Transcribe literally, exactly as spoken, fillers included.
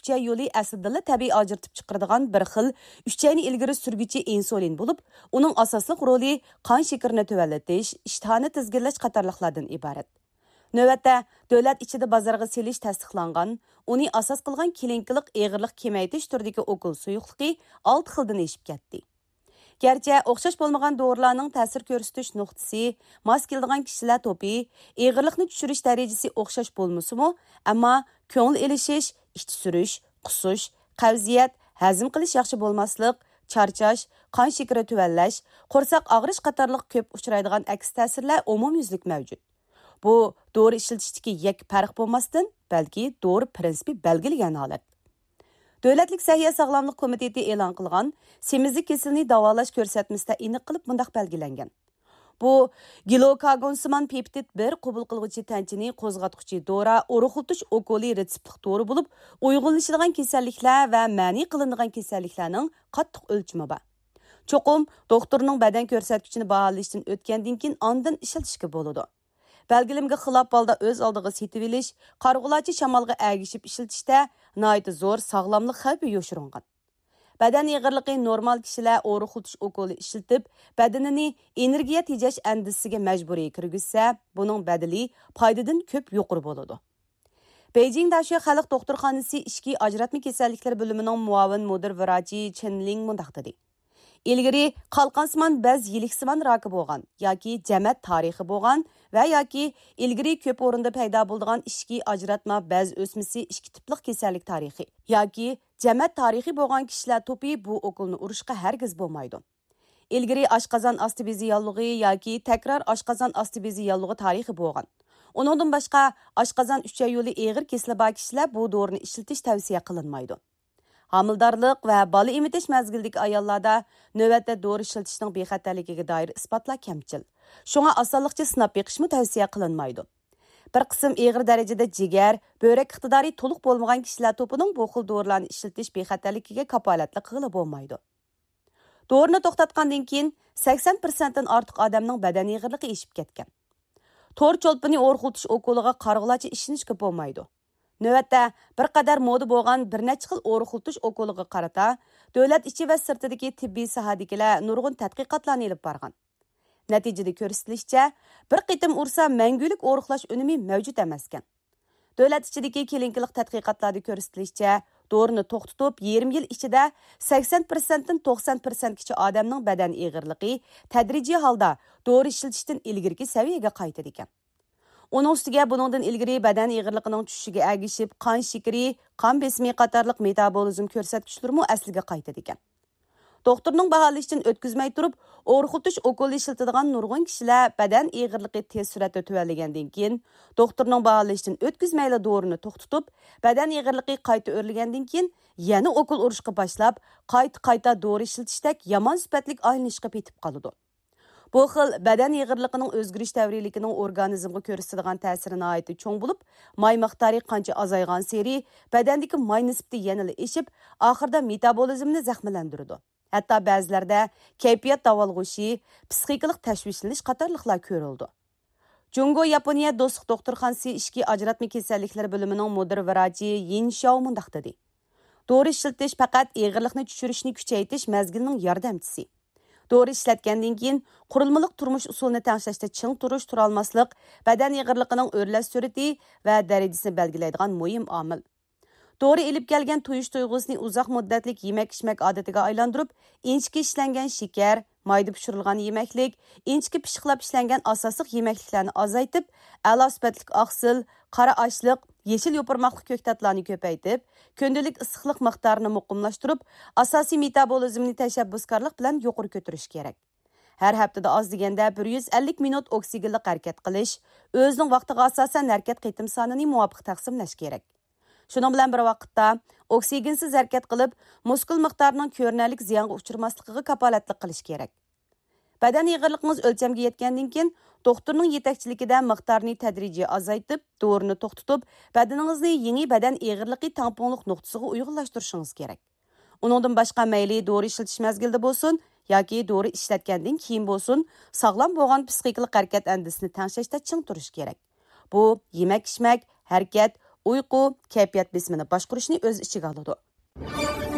ئۈچەي يولى ئەسلىدىنلا تەبىئىي ئاجرىتىپ چىقىرىدىغان بىر خىل ئۈچەينى ئىلگىرى سۈرگۈچى ئىنسۇلىن بولۇپ، ئۇنىڭ ئاساسلىق رولى قان شېكىرىنى تۆۋەنلىتىش، ئىشتىھانى تىزگىنلەش قاتارلىقلاردىن ئىبارەت. نۆۋەتتە، دۆلەت ئىچىدە بازارغا سېلىش تەستىقلانغان، ئۇنى ئاساس قىلغان كلىنىكىلىق ئېغىرلىق كېمەيتىش تۈرىدىكى ئوكۇل سۇيۇقلۇقى ئالتە خىلدىن ئېشىپ كەتتى. گەرچە ئوخشاش بولمىغان دورىلارنىڭ تەسىر كۆرسىتىش نۇقتىسى، ماس كېلىدىغان كىشىلەر توپى، ئېغىرلىقنى چۈشۈرۈش دەرىجىسى ئوخشاش بولمىسىمۇ، ئەمما كۆڭۈل ئېلىشىش، ئىچ سۈرۈش، قۇسۇش، قەۋزىيەت، ھەزىم قىلىش ياخشى بولماسلىق، چارچاش، قان شېكىرى تۆۋەنلەش، قورساق ئاغرىش قاتارلىق كۆپ ئۇچرايدىغان ئەكس تەسىرلەر ئومۇميۈزلۈك مەۋجۇت. بۇ دورا ئىشلىتىشتىكى يەككە پەرق بولماستىن، بەلكى دورا پىرىنسىپى بەلگىلىگەن ھالەت. دۆلەتلىك سەھىيە ساغلاملىق كومىتېتى ئېلان قىلغان سېمىزلىك كېسىلىنى داۋالاش كۆرسەتمىسىدە ئېنىق قىلىپ مۇنداق بەلگىلەنگەن: بۇ گلۇكاگونسىمان پېپتىد بىر قوبۇل قىلغۇچى تەنچىنى قوزغاتقۇچى دورا، ئورۇقلىتىش ئوكۇلى رېتسېپلىق دورا بولۇپ، ئۇيغۇنلىشىدىغان كېسەللىكلەر ۋە مەنئى قىلىنىدىغان كېسەللىكلەرنىڭ قاتتىق ئۆلچىمى بار. چوقۇم دوختۇرنىڭ بەدەن كۆرسەتكۈچىنى باھالىشتىن ئۆتكەندىن كېيىن ئاندىن ئىشلىتىشكە بولىدۇ. بەلگىلىمىگە خىلاپ ھالدا ئۆز ئالدىغا سېتىۋېلىش، قارىغۇلارچە شامالغا ئەگىشىپ ئىشلىتىشتە ناھايىتى زور ساغلاملىق خەۋپى يوشۇرۇنغان. بەدەن ئېغىرلىقى نورمال كىشىلەر ئورۇقلىتىش ئوكۇلى ئىشلىتىپ، بەدىنىنى ئېنېرگىيە تېجەش ئەندىزىسىگە مەجبۇرىي كىرگۈزسە، بۇنىڭ بەدىلى پايدىدىن كۆپ يۇقىرى بولىدۇ. بېيجىڭ داشۆ خەلق دوختۇرخانىسى ئىچكى ئاجراتما كېسەللىكلىرى بۆلۈمىنىڭ مۇئاۋىن مۇدىر ۋىراچى چېن لىڭ مۇنداق دېدى: ئىلگىرى قالقانسىمان بەز يىلىكسىمان راكى بولغان ياكى جەمەت تارىخى بولغان ۋە ياكى ئىلگىرى كۆپ ئورۇندا پەيدا بولىدىغان ئىچكى ئاجراتما بەز ئۆسمىسى ئىككى تىپلىق كېسەللىك تارىخى ياكى جەمەت تارىخى بولغان كىشىلەر توپى بۇ ئوكۇلنى ئۇرۇشقا ھەرگىز بولمايدۇ. ئىلگىرى ئاشقازان ئاستى بېزى ياللۇغى ياكى تەكرار ئاشقازان ئاستى بېزى ياللۇغى تارىخى بولغان، ئۇنىڭدىن باشقا ئاشقازان ئۈچەي يولى ئېغىر كېسىلى بار كىشىلەر بۇ دورىنى ئىشلىتىش تەۋسىيە قىلىنمايدۇ. ھامىلىدارلىق ۋە بالا ئېمىتىش مەزگىلىدىكى ئاياللاردا نۆۋەتتە دورا ئىشلىتىشنىڭ بىخەتەرلىكىگە دائىر ئىسپاتلار كەمچىل. شۇڭا ئاسانلىقچە سىناپ بېقىشمۇ تەۋسىيە قىلىنمايدۇ. بىر قىسىم ئېغىر دەرىجىدە جىگەر، بۆرەك ئىقتىدارى تولۇق بولمىغان كىشىلەر توپىنىڭ بۇ خىل دورىلارنى ئىشلىتىش بىخەتەرلىكىگە كاپالەتلىك قىلغىلى بولمايدۇ. دورىنى توختاتقاندىن كېيىن سەكسەن پىرسەنتتىن ئارتۇق ئادەمنىڭ بەدەن ئېغىرلىقى ئېشىپ كەتكەن. تور چولپىنى ئورۇقلىتىش ئوكۇلىغا قارىغۇلارچە ئىشىنىشكە بولمايدۇ. نۆۋەتتە بىر قەدەر مودا بولغان بىر نەچچە خىل ئورۇقلىتىش ئوكۇلىغا قارىتا دۆلەت ئىچى ۋە سىرتىدىكى تېببىي ساھەدىكىلەر نۇرغۇن تەتقىقاتلارنى ئېلىپ بارغان. نەتىجىدە كۆرسىتىلىشىچە، بىر قېتىم ئۇرسا مەڭگۈلۈك ئورۇقلاش ئۈنۈمى مەۋجۇت ئەمەسكەن. دۆلەت ئىچىدىكى كلىنىكىلىق تەتقىقاتلاردا كۆرسىتىلىشىچە، دورىنى توختىتىپ يېرىم يىل ئىچىدە سەكسەن پىرسەنتتىن توقسان پىرسەنتكىچە ئادەمنىڭ بەدەن ئېغىرلىقى تەدرىجىي ھالدا دورا ئىشلىتىشتىن ئىلگىرىكى سەۋىيەگە قايتىدىكەن. ئۇنىڭ ئۈستىگە بۇنىڭدىن ئىلگىرى بەدەن ئېغىرلىقىنىڭ چۈشۈشىگە ئەگىشىپ قان شېكىرى، قان بېسىمى قاتارلىق مېتابولىزم كۆرسەتكۈچلىرىمۇ ئەسلىگە قايتىدىكەن. دوختۇرنىڭ باھالىشىدىن ئۆتكۈزمەي تۇرۇپ، ئورۇقلىتىش ئوكۇلى ئىشلىتىدىغان نۇرغۇن كىشىلەر بەدەن ئېغىرلىقى تېز سۈرئەتتە تۆۋەنلىگەندىن كېيىن، دوختۇرنىڭ باھالىشىدىن ئۆتكۈزمەيلا دورىنى توختىتىپ، بەدەن ئېغىرلىقى قايتا ئۆرلىگەندىن كېيىن، يەنە ئوكۇل ئۇرۇشقا باشلاپ، قايتا-قايتا دورا ئىشلىتىشتەك يامان سۈپەتلىك ئايلىنىشقا پېتىپ قالىدۇ. بۇ خىل بەدەن ئېغىرلىقىنىڭ ئۆزگىرىش دەۋرىيلىكىنىڭ ئورگانىزمغا كۆرسىتىدىغان تەسىرى ناھايىتى چوڭ بولۇپ، ماي مىقدارى قانچە ئازايغانسېرى بەدەندىكى ماي نىسبىتى يەنىلا ئېشىپ، ئاخىرىدا مېتابولىزمنى زەخىملەندۈرىدۇ. ھەتتا بەزىلەردە كەيپىيات داۋالغۇشى، پىسخىكىلىق تەشۋىشلىنىش قاتارلىقلار كۆرۈلىدۇ. جۇڭگو ياپونىيە دوستلۇق دوختۇرخانىسى ئىچكى ئاجراتما كېسەللىكلىرى بۆلۈمىنىڭ مۇدىر ۋىراچى يىن شياۋ مۇنداق دېدى: دورا ئىشلىتىش پەقەت ئېغىرلىقنى چۈشۈرۈشنى كۈچەيتىش مەزگىلىنىڭ ياردەمچىسى. دورا ئىشلەتكەندىن كېيىن، قۇرۇلمىلىق تۇرمۇش ئۇسۇلىنى تەڭشەشتە چىڭ تۇرۇش، تۇرالماسلىق بەدەن ئېغىرلىقىنىڭ ئۆرلەش سۈرئىتى ۋە دەرىجىسىنى بەلگىلەيدىغان مۇھىم ئامىل. دورا ئېلىپ كەلگەن تويۇش تۇيغۇسىنى ئۇزاق مۇددەتلىك يېمەك-ئىچمەك ئادىتىگە ئايلاندۇرۇپ، ئىنچىكە ئىشلەنگەن شېكەر، مايدا پىشۇرۇلغان يېمەكلىك، ئىنچىكە پىششىقلاپ ئىشلەنگەن ئاساسلىق يېمەكلىكلەرنى ئازايتىپ، ئەلا سۈپەتلىك ئاقسىل، قارا ئاشلىق، يېشىل يوپۇرماقلىق كۆكتاتلارنى كۆپەيتىپ، كۈندىلىك ئىسسىقلىق مىقدارىنى مۇقىملاشتۇرۇپ، ئاساسىي مېتابولىزمنى تەشەببۇسكارلىق بىلەن يۇقىرى كۆتۈرۈش كېرەك. ھەر ھەپتىدە ئاز دېگەندە بىر يۈز ئەللىك مىنۇت ئوكسىگېنلىق ھەرىكەت قىلىش، ئۆزىنىڭ ۋاقتىغا ئاساسەن ھەرىكەت قېتىم سانىنى مۇۋاپىق تەقسىملەش كېرەك. شۇنىڭ بىلەن بىر ۋاقىتتا، ئوكسىگېنسىز ھەرىكەت قىلىپ، مۇسكۇل مىقدارىنىڭ كۆرۈنەرلىك زىيانغا ئۇچرىماسلىقىغا كاپالەتلىك قىلىش كېرەك. بەدەن ئېغىرلىقىڭىز ئۆلچەمگە يەتكەندىن كېيىن، دوختۇرنىڭ يېتەكچىلىكىدە مىقدارنى تەدرىجىي ئازايتىپ، دورىنى توختىتىپ، بەدىنىڭىزنى يېڭى بەدەن ئېغىرلىقى تەڭپۇڭلۇق نۇقتىسىغا ئۇيغۇنلاشتۇرۇشىڭىز كېرەك. ئۇنىڭدىن باشقا، مەيلى دورا ئىشلىتىش مەزگىلىدە بولسۇن ياكى دورا ئىشلەتكەندىن كېيىن بولسۇن، ساغلام بولغان پىسخىكىلىق ھەرىكەت ئەندىزىسىنى تەڭشەشتە چىڭ تۇرۇش كېرەك. بۇ يېمەك-ئىچمەك، ھەرىكەت، ئۇيقۇ، كەيپىيات بېسىمىنى باشقۇرۇشنى ئۆز ئىچىگە ئالىدۇ.